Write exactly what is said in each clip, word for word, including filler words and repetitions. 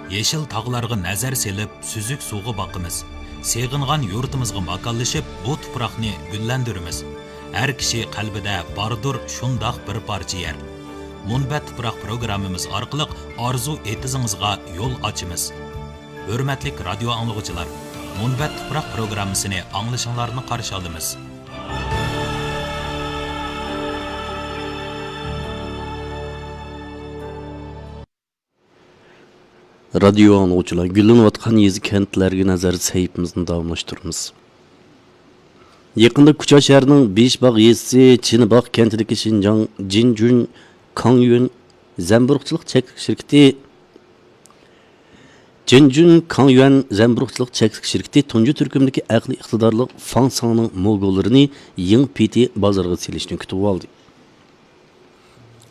يېشىل تاغلارغا نەزەر سېلىپ، سۈزۈك سۇغا باقىمىز. سېغىنغان يۇرتىمىزغا ماكانلىشىپ، بۇ تۇپراقنى گۈللەندۈرىمىز. ھەر كىشى قەلبىدە باردۇر شۇنداق بىر پارچە يەر. مۇنبەت تۇپراق پروگراممىمىز ئارقىلىق ئارزۇ ئېتىزىڭىزغا يول ئاچىمىز. ھۆرمەتلىك رادىيو ئاڭلىغۇچىلار، مۇنبەت تۇپراق پروگراممىسىنى ئاڭلىشىڭلارنى قارشى ئالىمىز. رادىيو ئاڭلىغۇچىلار، گۈللىنىۋاتقان يېزا، كەنتلەرگە نەزەر سەھىپىمىزنى داۋاملاشتۇرىمىز. يېقىندا كۇچا شەھىرىنىڭ بېيىشباغ يېزىسى چىنىباغ كەنتىدىكى شىنجاڭ جىنجۈن كاڭيۈەن زەمبۇرۇغچىلىق چەكلىك شىركىتى، جىنجۈن كاڭيۈەن زەمبۇرۇغچىلىق چەكلىك شىركىتى تۇنجى تۈركۈمدىكى ئەقلىي ئىقتىدارلىق فاڭساڭنىڭ موگولىرىنى يېڭى پېتى بازارغا سېلىشنى كۈتۈۋالدى.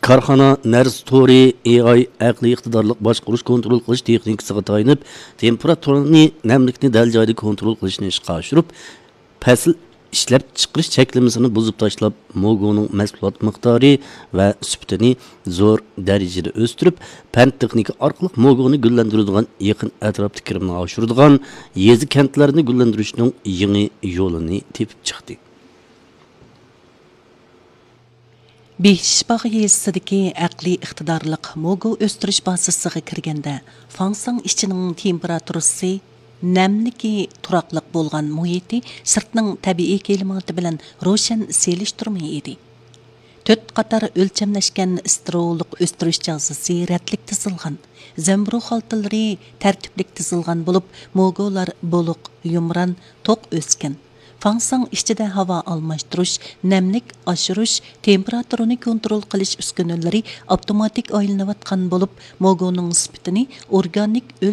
كارخانا نەرسە تورى، ئېي ئاي، ئەقلىي ئىقتىدارلىق باشقۇرۇش، كونترول قىلىش تېخنىكىسىغا تايىنىپ، تېمپېراتۇرىنى، نەملىكنى دەل جايىدا كونترول قىلىشنى ئىشقا ئاشۇرۇپ، پەسىل ئىشلەپچىقىرىش چەكلىمىسىنى بۇزۇپ تاشلاپ، موگونىڭ مەھسۇلات مىقدارى ۋە سۈپىتىنى زور دەرىجىدە ئۆستۈرۈپ، پەن تېخنىكا ئارقىلىق موگونى گۈللەندۈرىدىغان، يېقىن ئەتراپتا كىرىمنى ئاشۇرىدىغان يېزا، كەنتلەرنى گۈللەندۈرۈشنىڭ يېڭى يولىنى تېپىپ چىقتى. بېيىشباغ يېزىسىدىكى ئەقلىي ئىقتىدارلىق موگو ئۆستۈرۈش بازىسىغا كىرگەندە، فاڭساڭ ئىچىنىڭ تېمپېراتۇرىسى، نەملىكى تۇراقلىق بولغان مۇھىتى سىرتنىڭ تەبىئىي كىلىماتى بىلەن روشەن سېلىشتۇرما ئىدى. تۆت قاتار ئۆلچەملەشكەن ستېرېئولۇق ئۆستۈرۈش جازىسى رەتلىك تىزىلغان، زەمبۇرۇغ خالتىلىرى تەرتىپلىك تىزىلغان بولۇپ، موگولار بولۇق، يۇمران، توق ئۆسكەن. فاڭساڭ ئىچىدە ھاۋا ئالماشتۇرۇش، نەملىك ئاشۇرۇش، تېمپېراتۇرىنى كونترول قىلىش ئۈسكۈنىلىرى ئاپتوماتىك ئايلىنىۋاتقان بولۇپ، موگونىڭ سۈپىتىنى ئورگانىك ئۆلچەم